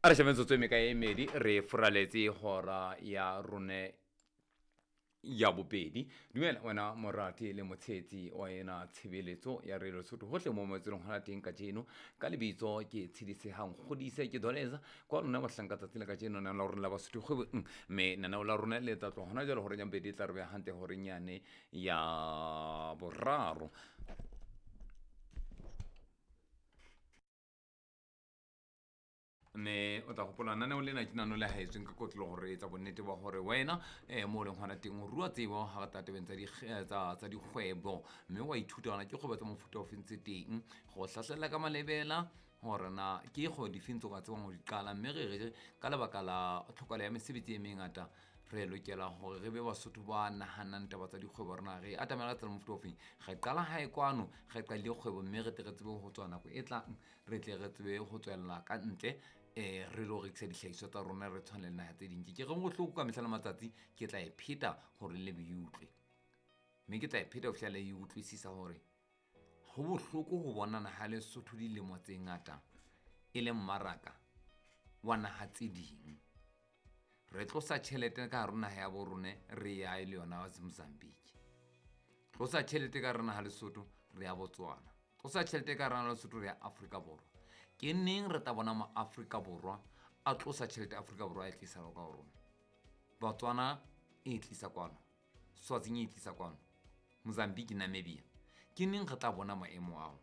A re shebe metsotso e mekae e medi re furaletse hora ya rone ya bobedi. Dumela wena morati le motshehetsi wa ena tshebeletso ya Radio Lesotho hohle mo moetselong hona teng kajeno. Ka lebitso ke Tshedisehang Kgodise ke Doleza kwa lona bahlanka tsatsi la kajeno nana la rona la Basotho kgwebong, mme naneo la rona le tla tloha hona jwale horeng ya bobedi e tla re beha hantle horeng yane ya boraro. Mme o tla gopola naneo lena ke nano le haetsweng ka kotlo gore etsa bonnete ba gore wena um mo o leng gona teng o rua tsebo ga re tla tabeng tsa dikgwebo, mme wa ithuta gona ke kgwebo tsa mofuta o feng tse teng go hlahlela ka malebela gore na ke kgwebo difeng tse o ka tsebang go di qala. Mme re re ka lebaka la tlhokalo ya mesebetsi e mengata re lokela gore re be Basotho ba nahanang taba tsa dikgwebo. Rena re atamela ka tsela mofuta o feng, re qala hae kwano re qadile kgwebo, mme re tle re tsebe go tswa nako e tlang, re tle re tsebe go tswella ka ntle um re lo rekisa dihlahiswa tsa rona re tshwane le naha tse ding. Ke reng bohloko ka mehla le matsatsi, ke tla e pheta gore le be e utlwe, mme ke tla e pheta ho fihlela e utlwisisa gore ho bohloko ho bona naha Lesotho dilemo tse ngata e le mmaraka wa naha tse ding. Re tlosa tjhelete ka hare naha ya bo rone re ya e le yona Mozambique, tlosa tjhelete ka hare naha Lesotho re ya Botswana, tlosa tjhelete ka hare naha Lesotho re ya Afrika Borwa. Ke neng re tla bona ma Afrika Borwa a tlosa tjhelete Afrika Borwa e tlisa ka ho rona? Botswana e tlisa kwano, Swaziland e tlisa kwano, Mozambique, Namibia. Ke neng re tla bona maemo ao?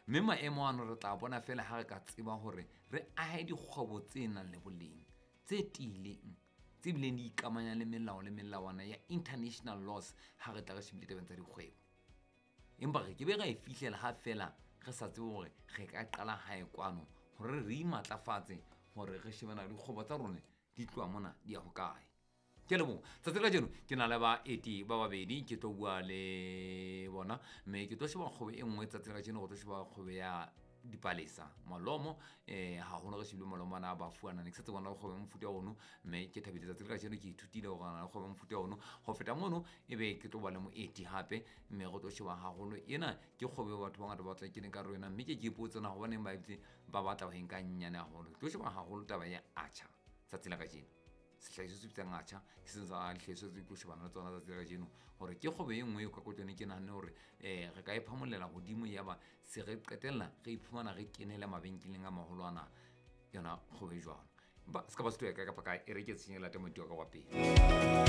Mme maemo ano re tla bona fela ha re ka tseba hore re ahe dikgwebo tse nang le boleng, tse tiileng, tse bileng di ikamanya le melao le melawana ya international laws ha re tla re shebile tabeng tsa dikgwebo. Empa re ke be ra e fihlela ha fela re sa tsebe hore re ka qala hae kwano hore re imatlafatse hore re shebana le dikgwebo tsa rona di tloha mona di ya hokae. Ke leboha tsatsi la kajeno ke na le baeti ba babedi, ke tlo bua le bona mme ke tlo sheba kgwebo e nngwe tsatsi la kajeno. Go tlo sheba kgwebo ya dipalesa malomo, haholo re shebile malomo ana a bafuana ne ke sa tsebe bona kgwebo ya mofuta ono, mme ke thabile tsatsi la kajeno ke ithutile hore na le kgwebo ya mofuta ono. Ho feta mono ebe ke tlo ba le moeti hape, mme re tlo sheba haholo ena ke kgwebo eo batho ba bangata ba batla ke ka hare ho yona, mme ke ipotse na hobaneng ba etse ba batla ho e nka nyane haholo. Ke tlo sheba haholo taba ya atjha tsatsi la kajeno, sehlahiswa se bitsang atjha ke seng sa dihlahiswa tse tlo shebana le tsona tsatsi la kajeno, hore ke kgwebo e nngwe eo ka kotlwane ke nahanne hore re ka e phamolela hodimo, yaba se re qetella re iphumana re kenele mabenkeleng a maholo ana yona kgwebo e jwalo. Empa se ka ba se tloya kae kapa kae, e re ke tshenye late moeti wa ka wa pele.